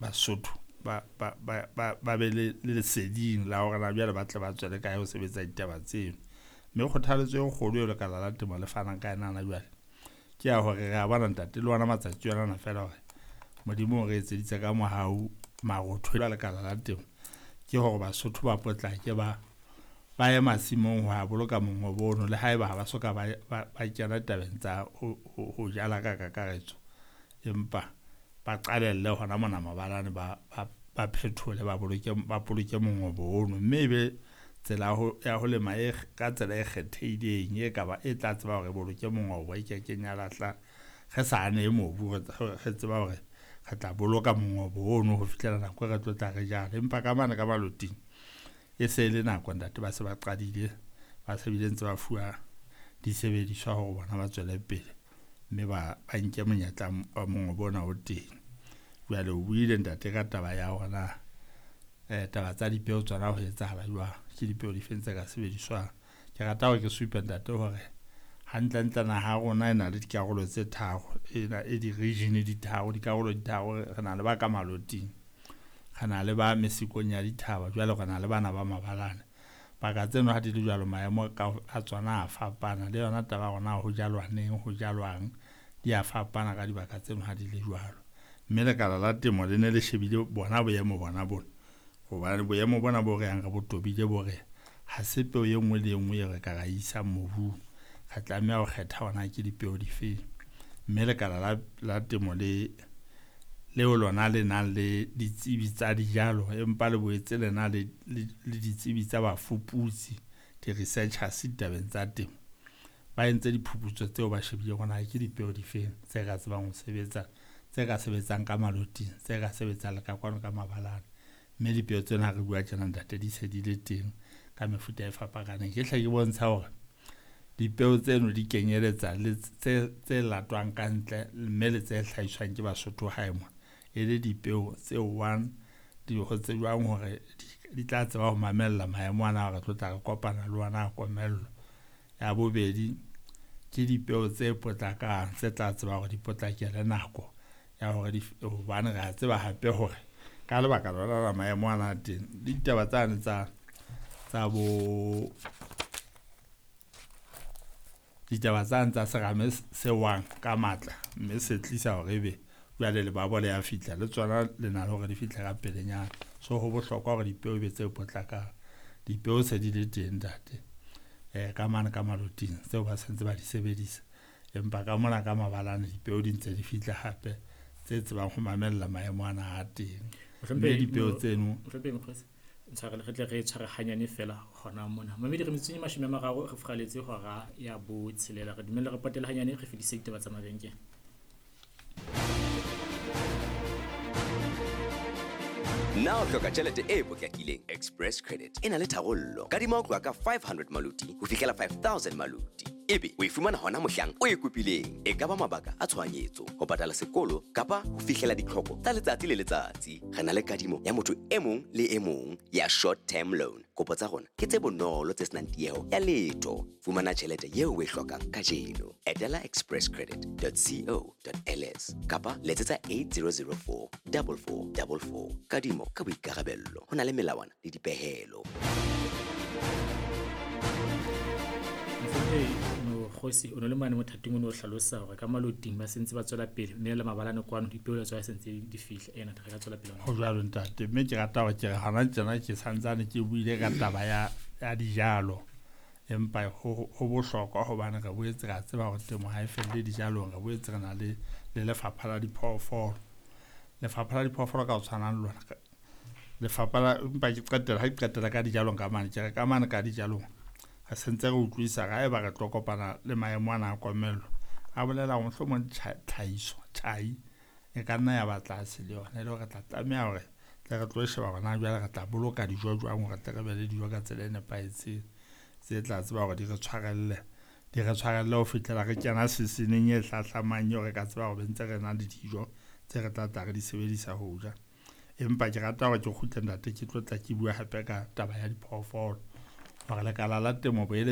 Basotho ba be le leseding la hore na jwale ba tle ba tswele kae ho sebetsa ditaba tseno. Mme kgothaletso e kgolo eo lekala la temo le fanang ka yona hona jwale ke ya hore re a bona ntate le ona matsatsi ona feela hore Modimo o re etseditse ka mohau marotho a lekala la temo ke hore Basotho ba potlake ba ye masimong ho ya boloka mongobo ono, le haeba ha ba soka ba kena tabeng tsa ho jala ka kakaretso, empa ba qalelle hona mona mabalane ba phethole ba boloke mongobo ono, mme ebe tsela ya ho lema e ka tsela e kgethehileng e ka ba e tla tseba hore boloke mongobo e kekeng ya lahla re sa ane mobu, re tseba hore re tla boloka mongobo ono ho fihlela nako e re tlo tla re jala. Empa ka mane ka maloting e se le nako ntate, ba se ba qadile, ba se bile ntse ba fuwa disebediswa hore bona ba tswele pele mme ba nke monyetla wa mongobo ona o teng. Jwale o buile ntate ka taba ya hore na taba tsa dipeo tsona ho etsahala jwang, ke dipeo difeng tse ka sebediswang. Ke rata hore ke supe ntate hore hantlentle naha ya rona e na le dikarolo tse tharo, e di-region di tharo, dikarolo di tharo. Re na le ba ka maloting, re na le ba mesikong ya dithaba, jwale re na le bana ba mabalane. Baka tseno ha di le jwalo maemo a tsona a fapana, le yona taba ya rona ho jalwa neng, ho jalwang, di a fapana ka dibaka tseno ha di le jwalo. Mme lekala la temo le ne le shebile bona boemo bona bona, hobane boemo bona bo re yang re bo tobile bo re ha se peo e nngwe le e nngwe e re ka ra isang mobung, re tlameha ho kgetha hona ke dipeo difeng. Mme lekala la temo le leo lona le nang le ditsebi tsa dijalo, empa le boetse le na le ditsebi tsa bafuputsi, di-researchers ditabeng tsa temo, ba entse diphuputso tseo ba shebile hore ke dipeo difeng tse ka tsebang ho sebetsa, tse ka sebetsang ka maloting, tse ka sebetsang le ka kwano ka mabalane. Mme dipeo tsena ha re bua tjena ntate di se di le teng ka mefuta e fapakaneng. Ke hle ke bontsha hore dipeo tseno di kenyeletsa le tse latwang ka ntle mme le tse hlahiswang ke Basotho hae mona, e le dipeo tse one di ho tsejwang hore di tla tseba ho mamella maemo ana re tlo tla re kopana le ona a komello. Ya bobedi ke dipeo tse potlakang tse tla tseba hore di potlakele nako ya hore hobane re a tseba hape hore ka lebaka lona la maemo ana a teng le ditaba tsane tsa bo ditaba tsane tsa serame se wang ka matla, mme se tlisa hore ebe jwale lebabo le ya fihla le tsona le na le hore di fihle ka pelenyana. So ho bohlokwa hore dipeo e be tse potlakang. Dipeo se di le teng ntate ka mane ka maloting tseo ba sentse ba di sebedisa, empa ka mona ka mabalane dipeo di ntse di fihla hape tse tsebang ho mamella maemo ana a teng. Mme dipeo tseno ntshwarele re tle re tshware hanyane fela hona mona. Mamedi re metsotsong e 30 re furaletse hora ya 6. Re dumelle re potele hanyane re fedise ditaba tsa mabenkele. Na o hloka tjhelete e potlakileng? Express Credit e na le tharollo. Kadima ho tloha ka 500 maluti ho fihlela 5000 maluti. Ebe o e fumana hona mohlang o e kopileng. E ka ba mabaka a tshohanyetso, ho patala sekolo kapa ho fihlela ditlhoko tsa letsatsi le letsatsi. Re na le kadimo ya motho e mong le e mong ya short term loan. Kopo tsa rona ke tse bonolo tse senang tieho ya letho. Fumana tjhelete eo o e hlokang kajeno. Etela expresscredit.co.ls kapa letsetsa 8004 4444. Kadimo ka boikarabello. Ho na le melawana le dipehelo. Mokgosi o ne le mane mothating o ne o hlalosa hore ka maloting ba sentse ba tswela pele mme le mabalane kwano dipeo le tswa sentse di fihla. Ena re ka tswela pele ho jwalo ntate. Mme ke rata hore ke re hona tjena ke santsane ke buile ka taba ya dijalo, empa ho bohlokwa hobane re boetse re tseba hore temo ha e felle dijalong. Re boetse re na le lefapha la diphoofolo. Lefapha la diphoofolo ka ho tshwanang le lona lefapha la, empa ke qetela ha ke qetela ka dijalong ka mane, ke re ka mane ka dijalong re sentse re utlwisa ga eba re tlo kopana le maemo ana a komello, a bolela hore mohlomong tlhahiso tjhai e ka nna ya ba tlase le yona, e le hore re tla tlameha hore tle re tlo sheba hore na jwale re tla boloka dijo jwang hore tle re be le dijo ka tsela e nepahetseng tse tla tseba hore di re tshwarelle ho fihlela re kena seseneng e hlahlamang eo re ka tseba hore ntse re na le dijo tse re tla tla re di sebedisa ho ja. Empa ke rata hore ke kgutle ntate ke tlo tla ke bua hape ka taba ya diphoofolo hore lekala la temo boeletse